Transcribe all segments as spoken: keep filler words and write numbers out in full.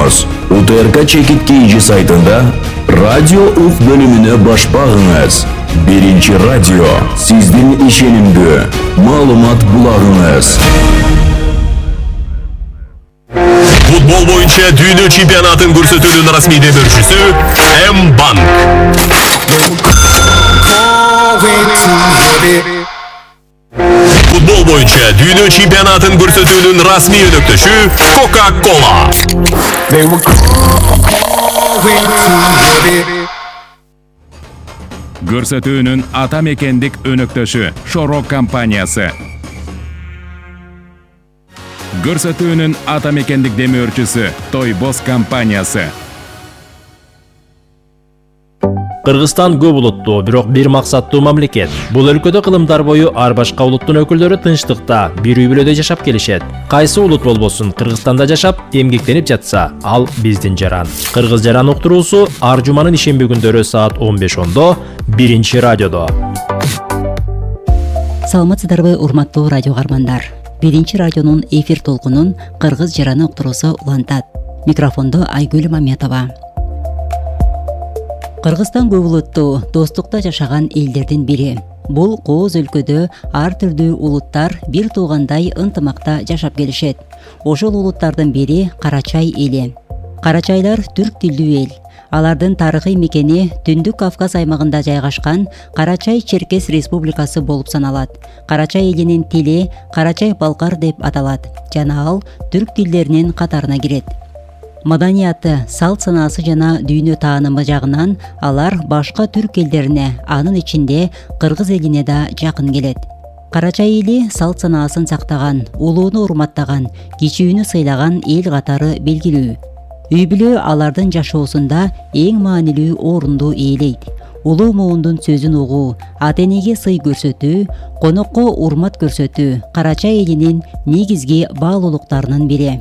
уктуңуз. УТРК чекит кийинчи сайтында радио ук бөлүмүнө баш багыңыз. Биринчи радио сиздин ишенимдүү маалымат булагыңыз. Футбол боюнча дүйнө чемпионатын көрсөтүүнүн расмий демөөрчүсү М-банк. Футбол боюнча дүйнө чемпионатын көрсөтүүнүн расмий өнөктөшү Coca-Cola. Көрсөтүүнүн ата мекендик өнөктөшү Шорок компаниясы. Көрсөтүүнүн ата мекендик демөөрчүсү Тойбос компаниясы. Кыргызстан көп улуттуу, бирок бир максаттуу мамлекет. Бул өлкөдө кылымдар бою ар башка улуттун өкүлдөрү тынчтыкта, бир үй бүлөдө жашап келишет. Кайсы улут болбосун, Кыргызстанда жашап, эмгектенип жатса, ал биздин жаран. Кыргыз жаран уктуруусу ар жуманын ишемби күндөрү саат он беш ондо биринчи радиодо. Саламатсыздарбы, урматтуу радио каармандар. Биринчи радионун эфир толкунун Кыргыз жараны уктуруусу улантат. Микрофондо Айгүл Мамедова. Кыргызстан көп улуттуу, достукта жашаган элдердин бири. Бул кооз өлкөдө ар түрдүү улуттар бир туугандай ынтымакта жашап келишет. Ошол улуттардын бири Карачай эли. Карачайлар түрк тилдүү эл. Алардын тарыхый мекени Түндүк Кавказ аймагында жайгашкан Карачай-Черкес республикасы болуп саналат. Карачай элинин тили Карачай-Балкар деп аталат жана ал түрк тилдеринин катарына кирет. Маданияты, салт санаасы жана дүйнө таанымы жагынан алар башка түрк элдерине, анын ичинде кыргыз элине да жакын келет. Карачай эли салт санаасын сактаган, улууну урматтаган, кичүүнү сыйлаган эл катары белгилүү. Үй бүлө алардын жашоосунда эң маанилүү орунду ээлейт. Улуу муундун сөзүн угуу, ата-энеге сый көрсөтүү, конокко урмат көрсөтүү Карачай элинин негизги баалуулуктарынын бири.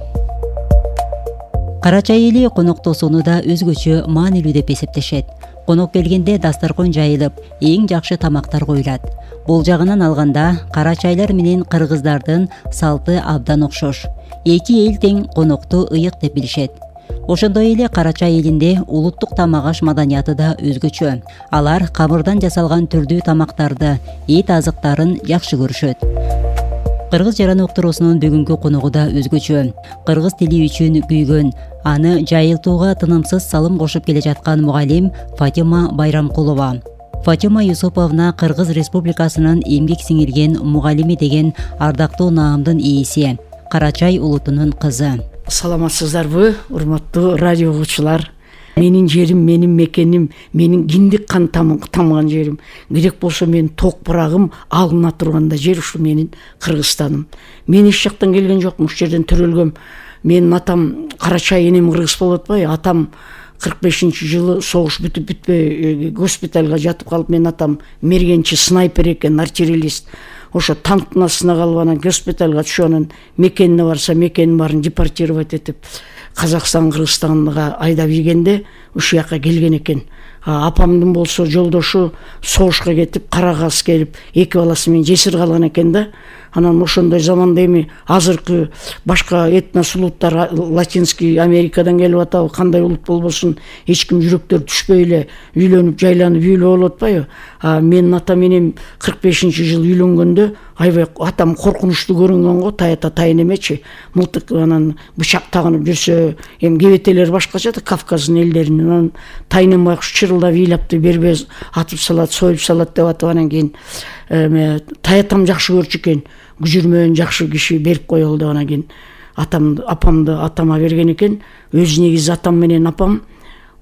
Карачай эли коноктосууну да өзгөчө маанилүү деп эсептешет. Конок келгенде дастаркон жайылып, эң жакшы тамактар коюлат. Бул жагынан алганда карачайлар менен кыргыздардын салты абдан окшош. Эки эл тең конокту ыйык деп билишет. Ошондой эле Карачай элинде улуттук тамак-аш маданияты да өзгөчө. Алар камырдан жасалган түрдүү тамактарды, эт азыктарын жакшы көрүшөт. Кыргыз жараны уктуруусунун бүгүнкү коногу да өзгөчө. Кыргыз тили үчүн күйгөн, аны жайылтууга тынымсыз салым кошуп келе жаткан мугалим Фатима Байрамкулова. Фатима Юсуповна Кыргыз Республикасынын эмгек сиңирген мугалими деген ардактуу наамдын ээси, Карачай улутунун кызы. Саламатсыздарбы, урматтуу радио угуучулар. Менин жерим, менин мекеним, менин киндик кан тамган жерим. Керек болсо менин ток бурагым алына турганда жер ушу менин Кыргызстаным. Мен эч жактан келген жокмун, ушул жерден төрөлгөм. Менин атам Карачай, энем кыргыз болуп атпайбы? Атам кырк бешинчи жылы согуш бүтүп бүтпөй госпиталга жатып калып, менин атам мергенчи снайпер экен, артиллерист. Ошо танктын астына калып анан госпиталга түшүп, анан мекенине барса, мекенин баарын депортировать этип Казакстан, Кыргызстанга айдап ийгенде ушул жака келген экен. Апамдын болсо жолдошу согушка кетип, Карагаз келип, эки баласы менен жесир калган экен да. Анан ошондой заманда эми азыркы башка этнос улуттар Латинский Америкадан келип атабы, кандай улут болбосун, эч ким жүрөктөр түшпөй эле үйлөнүп, жайланып үйлөө болуп атпайбы? А менин атам менен кырк бешинчи жылы үйлөнгөндө аябай атам коркунучтуу көрүнгөн го, тайата тайын эмечи. Мылтык анан бычак тагынып жүрсө, эми кебетелер башкача да Кавказдын элдеринин. Анан тайын байкуш чырылдап ыйлапты, бербез атып салат, союп салат деп атып, анан кийин таятам жакшы көрчү экен. Күжүрмөн жакшы киши берип коелу деп, анан кийин атамды, апамды атама берген экен. Өз негизи атам менен апам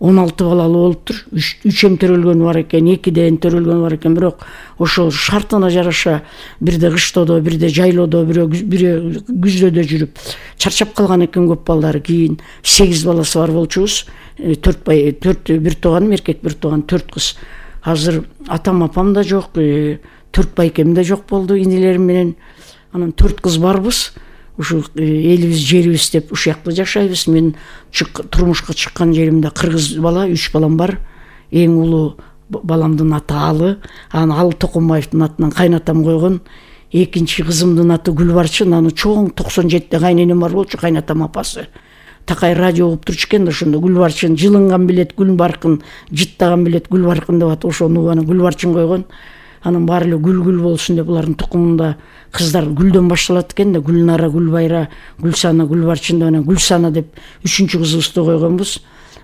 он алты балалуу болуптур. үч эм төрөлгөнү бар экен, экиден төрөлгөнү бар экен, бирок ошо шартына жараша бирде кыштоодо, бирде жайлоодо, бири күздө жүрүп чарчап калган экен көп балдары. Кийин сегиз баласы бар болчубуз. төрт бай, төрт бир тууганым эркек, бир тууган төрт кыз. Азыр атам апам да жок, төрт байкем да жок болду инелерим менен. Анан төрт кыз барбыз. Ушу элибиз, жерибиз деп ушул жакта жашайбыз. Мен турмушка чыккан жеримде кыргыз бала, үч балам бар. Эң улуу баламдын аты Алы, аны Алы Токомбаевдин атынан кайнатам койгон. Экинчи кызымдын аты Гүлбарчын, аны чоң токсон жетиде кайненем бар болчу, кайнатам апасы. Такай радио угуп турчу экен да, ошондо Гүлбарчын жылынган билет гүл баркын, жыттаган билет гүл баркын деп атып ошону анан Гүлбарчын койгон. Анан баары эле гүл-гүл болсун деп булардын тукумунда кыздар гүлдөн башталат экен да, Гүлнара, Гүлбайра, Гүлсана, Гүлбарчын деп анан Гүлсана деп үчүнчү кызыбызды койгонбуз.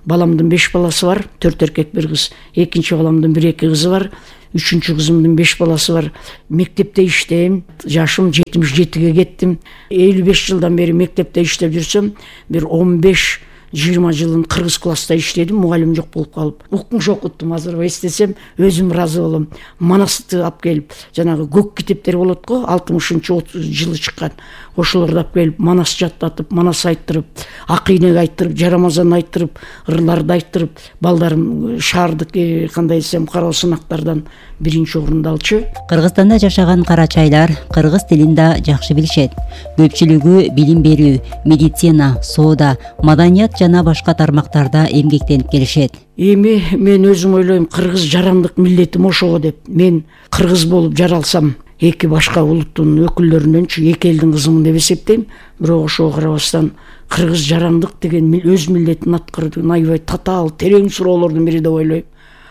Баламдын беш баласы бар, төрт эркек бир кыз. Экинчи баламдын бир эки кызы бар. Үчүнчү кызымдын беш баласы бар. Мектепте иштейм. Жашым жетимиш жетиге кеттим. элүү беш жылдан бери мектепте иштеп жүрсөм, бир он беш жыйырма жылын кыргыз класста иштедим, мугалим жок болуп калып. Укмуш окуттум, азыр эстесем өзүм ыраазы болом. Манасты алып келип, жанагы көк китептер болот го, алтымышынчы жылы чыккан. Ошолорду алып келип, Манас жаттатып, Манас айттырып, Акыйнек айттырып, Жарамазан айттырып, ырларды айттырып, балдарым шаардык кандай десем кароо сынактардан биринчи орунду алчу. Кыргызстанда жашаган карачайлар кыргыз тилин да жакшы билишет. Көпчүлүгү билим берүү, медицина, соода, маданият жана башка тармактарда эмгектенип келишет. Эми мен өзүм ойлойм, кыргыз жарандык миллетим ошого деп. Мен кыргыз болуп жаралсам, эки башка улуттун өкүлдөрүнөнчү эки элдин кызымын деп эсептейм. Бирок ошого карабастан кыргыз жарандык деген өз миллетин аткаруудан аябай татаал, терең суроолордун бири деп ойлойм.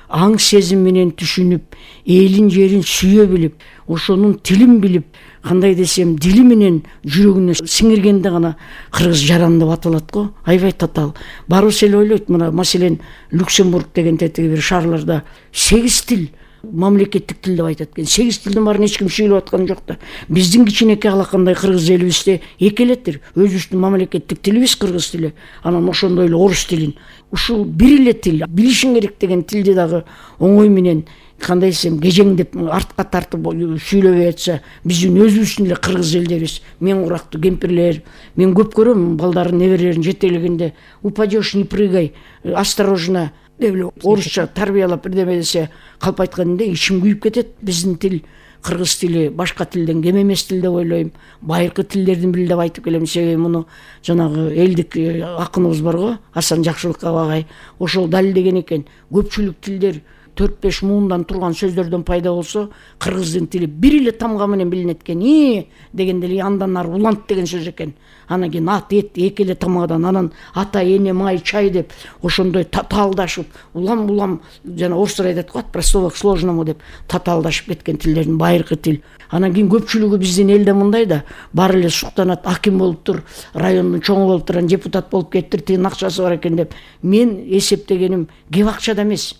Аң сезим менен түшүнүп, элин жерин сүйө билип, ошонун тилин билип, кандай десем, дили менен жүрөгүнө сиңиргенде гана кыргыз жаран деп аталат го. Аябай татаал. Барыбыз эле ойлойт, мына маселен Люксембург деген тетиги бир шаарларда сегиз тил мамлекеттик тил деп айтат экен. сегиз тилдин баарын эч ким сүйлөп аткан жок да. Биздин кичинекей алакандай кыргыз элибизде эки элеттир. Өзүбүздүн мамлекеттик тилибиз кыргыз тили. Анан ошондой эле орус тилин. Ушул бир эле тил, билишиң керек деген тилди дагы оңой менен кандай десем кежеңдеп артка тартып сүйлөбөй атса, биздин өзүбүздүн эле кыргыз элдерибиз, мен курактуу кемпирлер, мен көп көрөм балдарын, неберелерин жетелегенде упадешь, не прыгай, осторожно деп эле орусча тарбиялап бирдеме десе, калп айтканда ичим күйүп кетет. Биздин тил, кыргыз тили башка тилден кем эмес тил деп ойлойм. Байыркы тилдердин бири деп айтып келем. Себеби муну жанагы элдик акыныбыз бар го, Асан Жакшылык агай, ошол далилдеген экен. Көпчүлүк тилдер төрт беш муундан турган сөздөрдөн пайда болсо, кыргыздын тили бир эле тамга менен билинет экен. И дегенде эле андан ары улант деген сөз экен. Анан кийин ат, эт эки эле тамгадан, анан ата, эне, май, чай деп ошондой татаалдашып, улам-улам жана орустар айтат го, от простого к сложному деп татаалдашып кеткен тилдердин байыркы тил. Анан кийин көпчүлүгү биздин элде мындай да, баары эле суктанат, аким болуптур, райондун чоңу болуптур, анан депутат болуп кеттир, тигин акчасы бар экен деп. Мен эсептегеним кеп акчада эмес.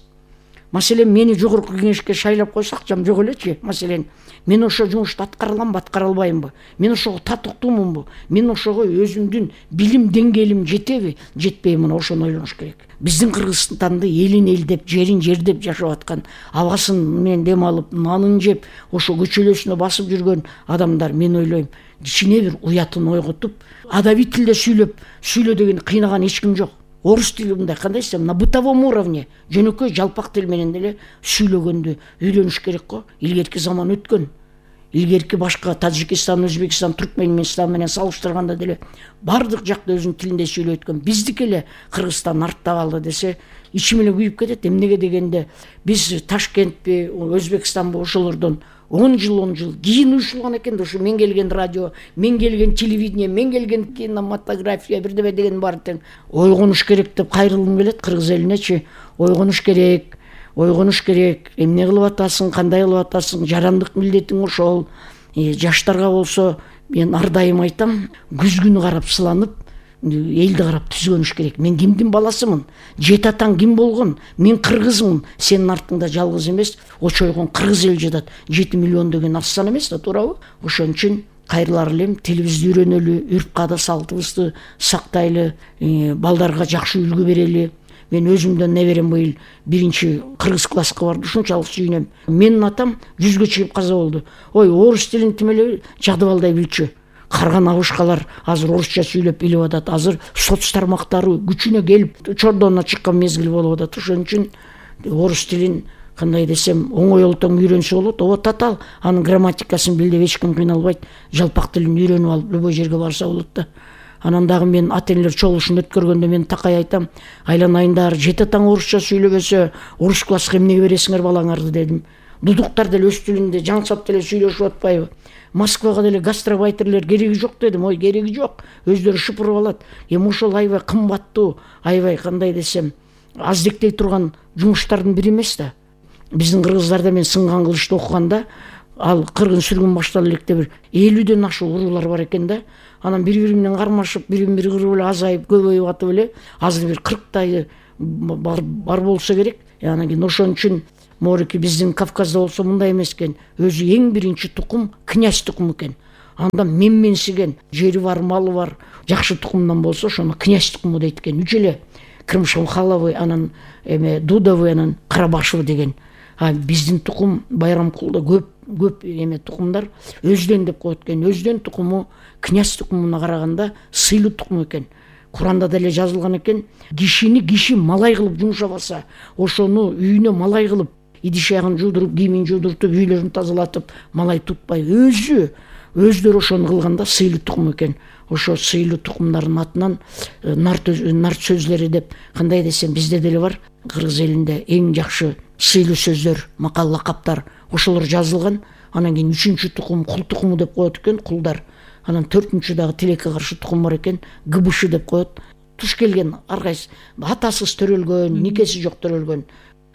Маселен, мени жогорку кеңешке шайлап койсо акчам жок элечи. Маселен, мен ошо жумушту аткара аламбы, аткара албаймбы? Мен ошого татыктуумунбу? Мен ошого өзүмдүн билим деңгээлим жетеби, жетпейби? Мына ошону ойлонуш керек. Биздин Кыргызстанды элин эл деп, жерин жер деп жашап аткан, абасын менен дем алып, нанын жеп, ошо көчөлөсүнө басып жүргөн адамдар, мен ойлойм, кичине бир уятын ойготуп, адабий тилде сүйлөп, сүйлө деген кыйнаган эч ким жок. Орус тили мындай, кандай десем, на бытовом уровне, жөнөкөй жалпак тил менен деле сүйлөгөндү үйрөнүш керек го. Илгерки заман өткөн. Илгерки башка Тажикстан, Өзбекстан, Түркмөнстан менен салыштырганда деле бардык жакта өзүнүн тилинде сүйлөп өткөн. Биздики эле Кыргызстан артта калды десе, ичим эле күйүп кетет. Эмнеге дегенде, биз Ташкентпи, Өзбекстанбы ошолордон он жыл он жыл кийин уюштурулган экен да, ушу мен келген радио, мен келген телевидение, мен келген кинематография бирдеме деген бар тең. Ойгонуш керек деп кайрылгым келет кыргыз элинечи. Ойгонуш керек, ойгонуш керек. Эмне кылып атасың, кандай кылып атасың? Жарандык милдетиң ошол. Жаштарга болсо мен ар дайым айтам, күз күнү карап сыланып, элди карап түзгөнүш керек. Мен кимдин баласымын? Жет атаң ким болгон? Мен кыргызмын. Сенин артыңда жалгыз эмес, очойгон кыргыз эл жатат. жети миллион деген аз сан эмес да, туурабы? Ошон үчүн кайрылар элем, тилибизди үйрөнөлү, үрп-каада салтыбызды сактайлы, балдарга жакшы үлгү берели. Мен өзүмдөн неберем быйыл биринчи кыргыз класска барды, ушунчалык сүйүнөм. Менин атам жүзгө чыгып каза болду. Ой, орус тилин тим эле жагдыбалдай билчү. Карган абышкалар азыр орусча сүйлөп билип атат. Азыр соц тармактары күчүнө келип чордонуна чыккан мезгил болуп атат. Ошон үчүн орус тилин кандай десем оңой олтоң үйрөнсө болот. Ооба татаал, анын грамматикасын бил деп эч ким кыйналбайт. Жалпак тилин үйрөнүп алып любой жерге барса болот да. Анан дагы мен ата энелер чогулушун өткөргөндө мен такай айтам, айланайындар, жет атаң орусча сүйлөбөсө, орус класска эмнеге бересиңер балаңарды дедим. дудуктар деле өз тилинде жаңсап деле сүйлөшүп атпайбы? Москвага деле гастробайтерлер кереги жок дедим. Ой, кереги жок. Өздөрү шыпырып алат. Эми ошол аябай кымбаттуу, аябай кандай десем, аздектей турган жумуштардын бири эмес да. Биздин кыргыздарда мен сынган кылычты окуганда, ал кыргын сүргүн баштала электе бир элүүдөн ашык уруулар бар экен да. Анан бири-бири менен кармашып, бирин бири кырып эле азайып, көбөйүп атып эле, азыр бир кырктайы бар, бар болсо керек. Анан кийин ошон үчүн Морики биздин Кавказда болсо мындай эмес экен. Өзү эң биринчи тукум князь тукуму экен. Андан менменсиген, жери бар, малы бар, жакшы тукумдан болсо ошону князь тукуму дейт экен. Үч эле Крымшамхаловы, анан эме Дудовы, анан Карабашевы деген. А биздин тукум Байрамкулда көп көп эме тукумдар өздөн деп коет экен. Өздөн тукуму князь тукумуна караганда сыйлуу тукум экен. Куранда деле жазылган экен, кишини киши малай кылып жумшабаса, ошону үйүнө малай кылып, идиш аягын жуудуруп, кийимин жуудуртуп, үйлөрүн тазалатып, малай тутпай, өзү өздөрү ошону кылганда сыйлуу тукум экен. Ошо сыйлуу тукумдардын атынан нарт нарт сөзлөрү деп, кандай десем, бизде деле бар. Кыргыз элинде эң жакшы сыйлуу сөздөр, макал лакаптар ошолор жазылган. Анан кийин үчүнчү тукум кул тукуму деп коет экен, кулдар. Анан төртүнчү дагы тилекке каршы тукум бар экен, гыбышы деп коет. Туш келген ар кайсы атасыз төрөлгөн, никеси жок төрөлгөн.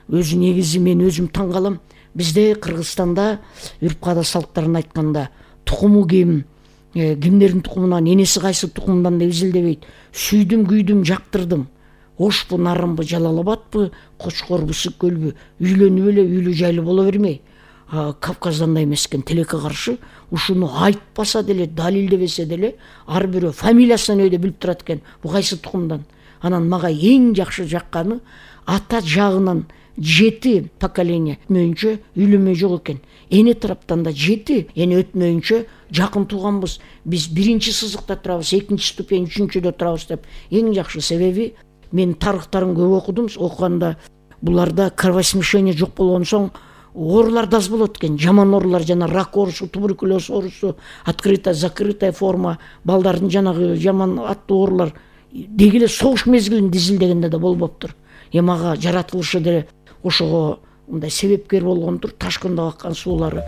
Өзү негизи мен өзүм таң калам. Бизде Кыргызстанда үрп каада салттарын айтканда тукуму ким, кимдердин тукумунан, энеси кайсы тукумдан деп изилдебейт. Сүйдүм, күйдүм, жактырдым. Ошпу, нарымбы, Жалалабадпы, Кочкорбу, Сүккөлбү, үйлөнүп эле үйлүү жайлуу боло бермей. Кавказданда эмес экен, тилекке каршы ушуну айтпаса деле, далилдебесе деле, ар бирөө фамилиясын өйдө билип турат экен, бу кайсы тукумдан. Анан мага эң жакшы жакканы ата жагынан жети поколение өтмөйүнчө үйлөнмөй жок экен. Эне тараптан да жети эне өтмөйүнчө жакын тууганбыз. Биз биринчи сызыкта турабыз, экинчи ступень, үчүнчүдө турабыз деп. Эң жакшы себеби мен тарыхтарын көп окудум. Окуганда буларда кровосмешение жок болгон соң оорулар да аз болот экен. Жаман оорулар, жана рак оорусу, туберкулез оорусу, открытая, закрытая форма, балдардын жанагы жаман аттуу оорулар деги эле согуш мезгилинде изилдегенде да болбоптур. Эми ага жаратылышы деле ошого мындай себепкер болгондур, ташкында аккан суулары.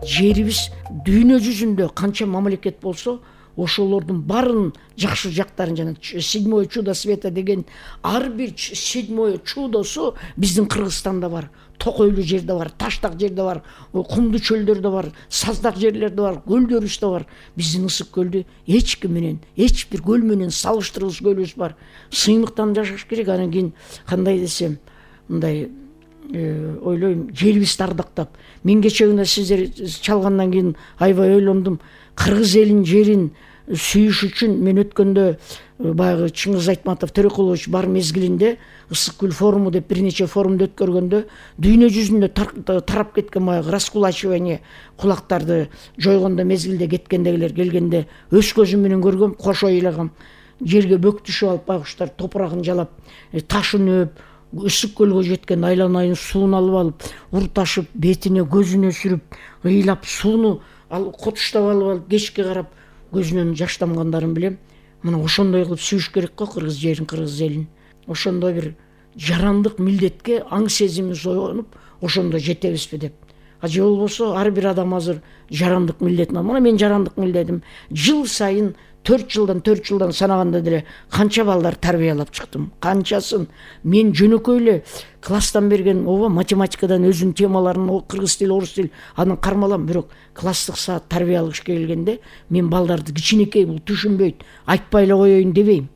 Жерибиз дүйнө жүзүндө канча мамлекет болсо, ошолордун барын жакшы жактарын, жана седьмое чудо света деген ар бир седьмое чудосу биздин Кыргызстанда бар. Токойлуу жерде бар, таштак жерде бар, кумдуу чөлдөрдө бар, саздак жерлерде бар, көлдөрүбүздө бар. Биздин ысык көлдү эч ким менен, эч бир көл менен салыштыргыс көлүбүз бар. Сыймыктан жашаш керек. Анан кийин кандай десем, мындай ойлойм, жерибизди ардактап. Мен кече күнү сиздер чалгандан кийин аябай ойлондум. Кыргыз элин жерин сүйүш үчүн мен өткөндө баягы Чыңгыз Айтматов Төрөкулович бар мезгилинде ысык көл форуму деп бир нече форумду өткөргөндө дүйнө жүзүндө тарап кеткен баягы раскулачивание, кулактарды жойгондо мезгилде кеткендегилер келгенде өз көзүм менен көргөм, кошо ыйлагам. Жерге бөк түшүп алып байкуштар топурагын жалап, ташын өп, ысык көлгө жеткен айланайын суун алып алып, урташып, бетине, көзүнө сүрүп, ыйлап сууну ал котуштап алып алып, кечке карап көзүнөн жаш тамгандарын билем. Мына ошондой кылып сүйүш керек го кыргыз жерин, кыргыз элин. Ошондой бир жарандык милдетке аң сезимибиз оюнуп, ошондо жетебизби деп. А же болбосо ар бир адам азыр жарандык милдетин. Мына мен жарандык милдетим. Жыл сайын төрт жылдан төрт жылдан санаганда деле канча балдар тарбиялап чыктым. Канчасын мен жөнөкөй эле класстан берген ооба математикадан өзүнүн темаларын, кыргыз тили, орус тил анын кармалам, бирок класстык саат тарбия алгыш келгенде мен балдарды кичинекей бул түшүнбөйт, айтпай эле коеюн дебейм.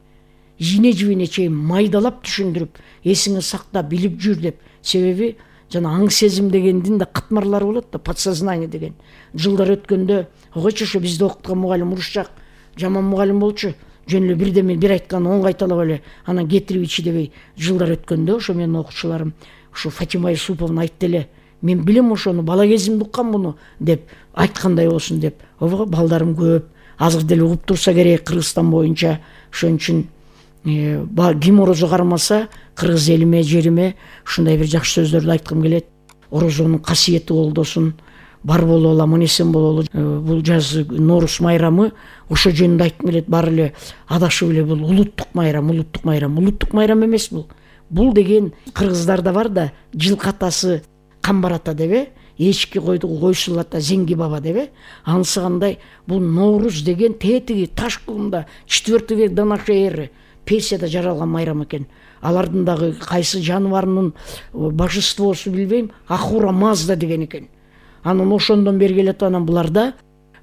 Жине жибине чейин майдалап түшүндүрүп, эсиңе сакта, билип жүр деп. Себеби жана аң сезим дегендин да катмарлары болот да, подсознание деген. Жылдар өткөндө, койчу ошо бизде окуткан мугалим урушчак, жаман мугалим болчу. Жөн эле бирде мен бир айткан он кайталап эле анан кетирип ичи дебей. Жылдар өткөндө ошо менин окуучуларым ушу Фатима Юсуповна айтты эле. Мен билем ошону, бала кезимде уккан муну деп, айткандай болсун деп. Ого балдарым көп. Азыр деле угуп турса керек Кыргызстан боюнча. Ошон үчүн ким орозо кармаса, кыргыз элиме, жериме ушундай бир жакшы сөздөрдү айткым келет. Орозонун касиети колдосун. Бар бололу, аман эсен бололу. Бул жаз Норус майрамы ошо жөнүндө айткым келет. Баары эле адашып эле бул улуттук майрам, улуттук майрам, улуттук майрам эмес бул. бул деген кыргыздарда бар да, жылкы атасы камбар ата деп э, эчки койду койсул ата Зеңги баба деп э, анысыгандай бул Ноорuz деген тетиги Ташкылымда четвертый век до нашей эры Персияда жаралган майрам экен. Алардын дагы кайсы жаныбарынын божествосу билбейм, Ахура Мазда деген экен. Анан ошондон бери келет, анан буларда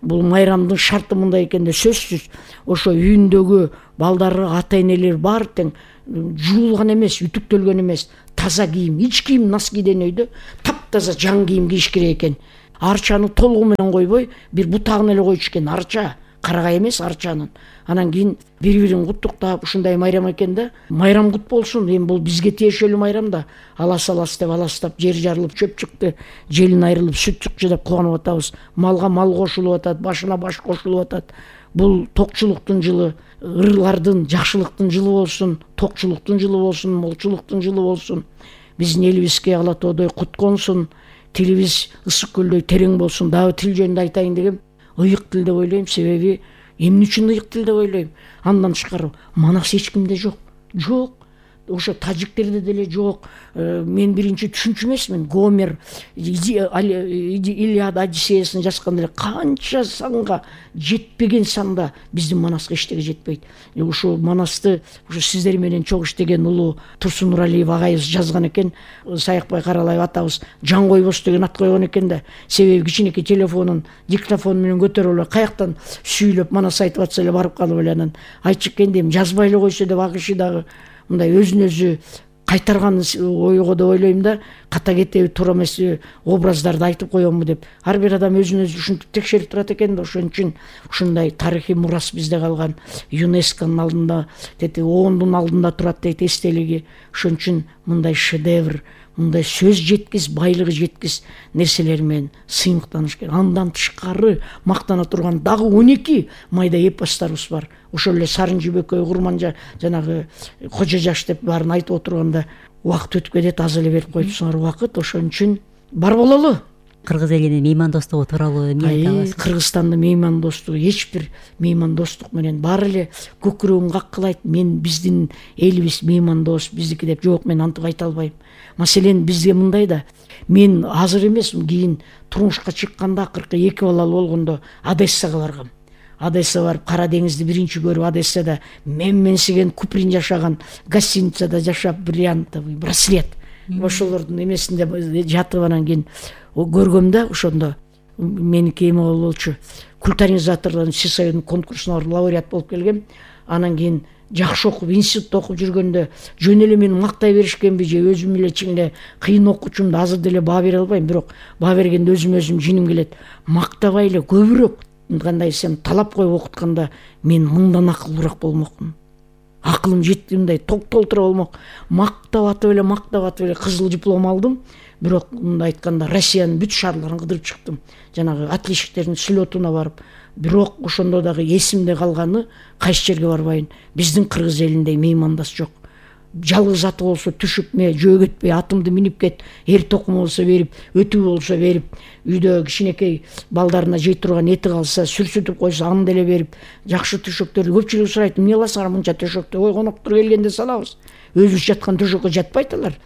бул майрамдын шарты мындай экен да, сөзсүз ошо үйүндөгү балдары, ата энелер баары тең жуулган эмес, үтүктөлгөн эмес, таза кийим, ич кийим носкиден өйдө таптаза жан кийим кийиш керек экен. Арчаны толугу менен койбой, бир бутагын эле койчу экен, арча, карагай эмес арчанын. Анан кийин бири-бирин куттуктап ушундай майрам экен да. Майрам кут болсун, эми бул бизге тиешелүү майрам да. Алас алас деп аластап, жер жарылып, чөп чыкты, желин айрылып, сүт чыкчы деп кубанып атабыз. Малга мал кошулуп атат, башына баш кошулуп атат. Бул токчулуктун жылы, ырлардын, жакшылыктын жылы болсун, токчулуктун жылы болсун, молчулуктун жылы болсун. Биздин элибизге ала тоодой кут консун, тилибиз ысык көлдөй терең болсун. Дагы тил жөнүндө айтайын дегем, ыйык тил деп ойлойм, себеби эмне үчүн ыйык тил деп ойлойм? Андан тышкары манас эч кимде жок. Жок. Ошо тажиктерде деле жок. Мен биринчи түшүнчү эмесмин. Гомер Илиада Одиссеясын жазганда эле канча санга жетпеген санда биздин Манаска эчтеге жетпейт. Ошо Манасты ошо сиздер менен чогуу иштеген улуу Турсун Нуралиев агайыбыз жазган экен. Саякбай Каралаев атабыз Жан койбос деген ат койгон экен да. Себеби кичинекей телефонун, диктофон менен көтөрүп эле каяктан сүйлөп Манас айтып атса эле барып калып эле анан айтчу экен дейм, жазбай эле койсо деп акышы дагы мындай өзүн өзү кайтарган ойго деп ойлойм да. Ката кетеби, туура эмес образдарды айтып коембу деп. Ар бир адам өзүн өзү ушинтип текшерип турат экен да. Ошон үчүн ушундай тарыхый мурас бизде калган, ЮНЕСКОнун алдында, тети оондун алдында турат дейт эстелиги. Ошон үчүн мындай шедевр, мындай сөз жеткис, байлыгы жеткис нерселер менен сыймыктаныш керек. Андан тышкары мактана турган дагы он эки майда эпостарыбыз бар. Ошол эле Сарын Жибекөй, Курманжа, жанагы Кожо Жаш деп баарын айтып отурганда убакыт өтүп кетет, аз эле берип коюпсуңар убакыт. Ошон үчүн бар бололу. Кыргыз элинин меймандостугу тууралуу эмне айта аласыз? Кыргызстандын меймандостугу эч бир меймандостук менен баары эле көкүрөгүн каккылайт. Мен биздин элибиз меймандос, биздики деп жок, мен антип айта албайм. Маселен бизге мындай да, мен азыр эмес, кийин турмушка чыкканда акыркы эки балалуу болгондо Одессага баргам. Одесса барып, Кара деңизди биринчи көрүп, Одессада менменсиген Куприн жашаган гостиницада жашап, бриллиантовый браслет ошолордун эмесинде жатып, анан кийин көргөм да. Ошондо меники эме болчу, культурализатордун Сисоюдун конкурсуна лауреат болуп келгем. Анан кийин жакшы окуп, институтта окуп жүргөндө жөн эле мени мактай беришкенби же өзүм эле чын эле кыйын окуучумду азыр деле баа бере албайм, бирок баа бергенде өзүм өзүм жиним келет. Мактабай эле көбүрөөк, кандай десем, талап коюп окутканда мен мындан акылдуураак болмокмун. Акылым жеткендей ток толтура болмок. Мактап атып эле, мактап атып эле кызыл диплом алдым. Бирок мындай айтканда Россиянын бүт шаарларын кыдырып чыктым. Жанагы отличниктердин слетуна барып. Бирок ошондо дагы эсимде калганы, кайсы жерге барбайын, биздин кыргыз элинде меймандас жок. Жалгыз аты болсо түшүп, ме жөө кетпей атымды минип кет, эр токум болсо берип, өтүү болсо берип, үйдө кичинекей балдарына жей турган эти калса сүрсүтүп койсо аны деле берип, жакшы төшөктөрдү көпчүлүк сурайт, эмне кыласыңар мынча төшөктү? Ой, коноктор келгенде салабыз. Өзүбүз жаткан төшөккө жатпайт алар.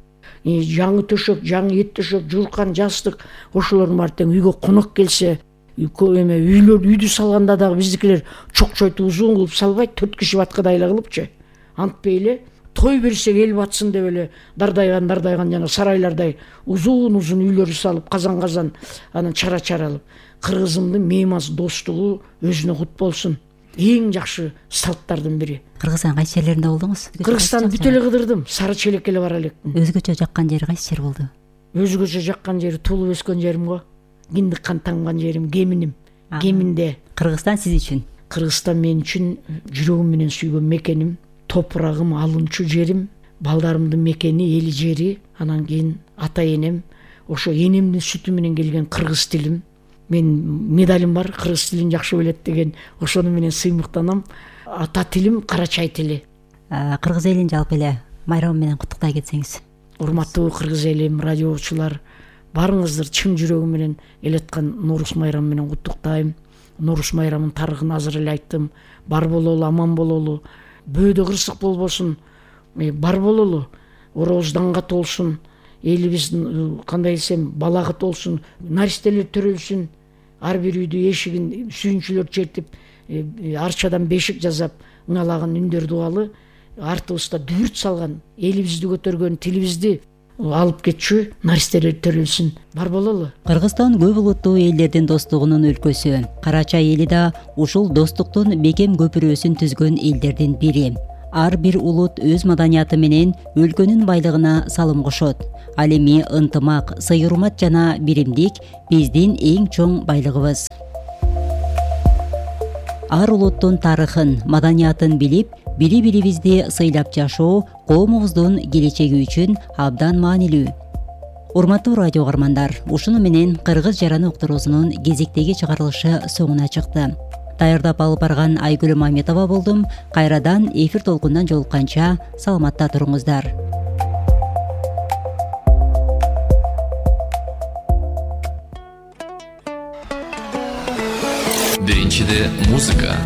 Жаңы төшөк, жаңы эт төшөк, журкан, жастык, ошолордун баары тең үйгө конок келсе, эме үйлөр үйдү салганда дагы биздикилер чокчойтуп узун кылып салбайт, төрт киши баткыдай эле кылыпчы. Антпей эле той берсек эл батсын деп эле дардайган дардайган жана сарайлардай узун-узун үйлөрү салып, казан-казан анан чара-чаралып. Кыргызымдын мейман достугу өзүнө кут болсун. Эң жакшы салттардын бири. Кыргызстандын кайсы жерлеринде болдуңуз? Кыргызстанды бүт эле кыдырдым. Сары Челекке эле бара элекмин. Өзгөчө жаккан жери кайсы жер болду? Өзгөчө жаккан жери туулуп өскөн жерим го. Киндик кан тамган жерим, Кеминим. Кеминде. Кыргызстан сиз үчүн? Кыргызстан мен үчүн жүрөгүм менен сүйгөн мекеним, топурагым, алынчу жерим, балдарымдын мекени, эли жери, анан кийин ата энем, ошо энемдин сүтү менен келген кыргыз тилим. Мен медалим бар, кыргыз тилин жакшы билет деген, ошону менен сыймыктанам. Ата тилим Карачай тили. Кыргыз элин жалпы эле майрамы менен куттуктай кетсеңиз. Урматтуу кыргыз элим, радиочулар, баарыңызды чын жүрөгүм менен элеткан Ноорuz майрамы менен куттуктайм. Ноорuz майрамынын тарыхын азыр эле айттым. Бар бололу, аман бололу. Бөөдө кырсык болбосун. Бар бололу. оробузданга толсун, элибиз кандай десем балага толсун, наристелер төрөлсүн, ар бир үйдү эшигин сүйүнчүлөр чертип, арчадан бешик жасап ыңалаган үндөр дубалы артыбызда дүбүрт салган, элибизди көтөргөн, тилибизди алып кетчү наристелер төрөлсүн бар бололу. Кыргызстан көп улуттуу элдердин достугунун өлкөсү. Карачай эли да ушул достуктун бекем көпүрөсүн түзгөн элдердин бири. Ар бир улут өз маданияты менен өлкөнүн байлыгына салым кошот. Ал эми ынтымак, сый-урмат жана биримдик биздин эң чоң байлыгыбыз. Ар улуттун тарыхын, маданиятын билип, бири-бирибизди сыйлап жашоо коомубуздун келечеги үчүн абдан маанилүү. Урматтуу радио каармандар, ушуну менен Кыргыз жараны уктуруусунун кезектеги чыгарылышы соңуна чыкты. Даярдап алып барган Айгүл Маметова болдум. Кайрадан эфир толкундан жолукканча саламатта туруңуздар. Биринчиде музыка,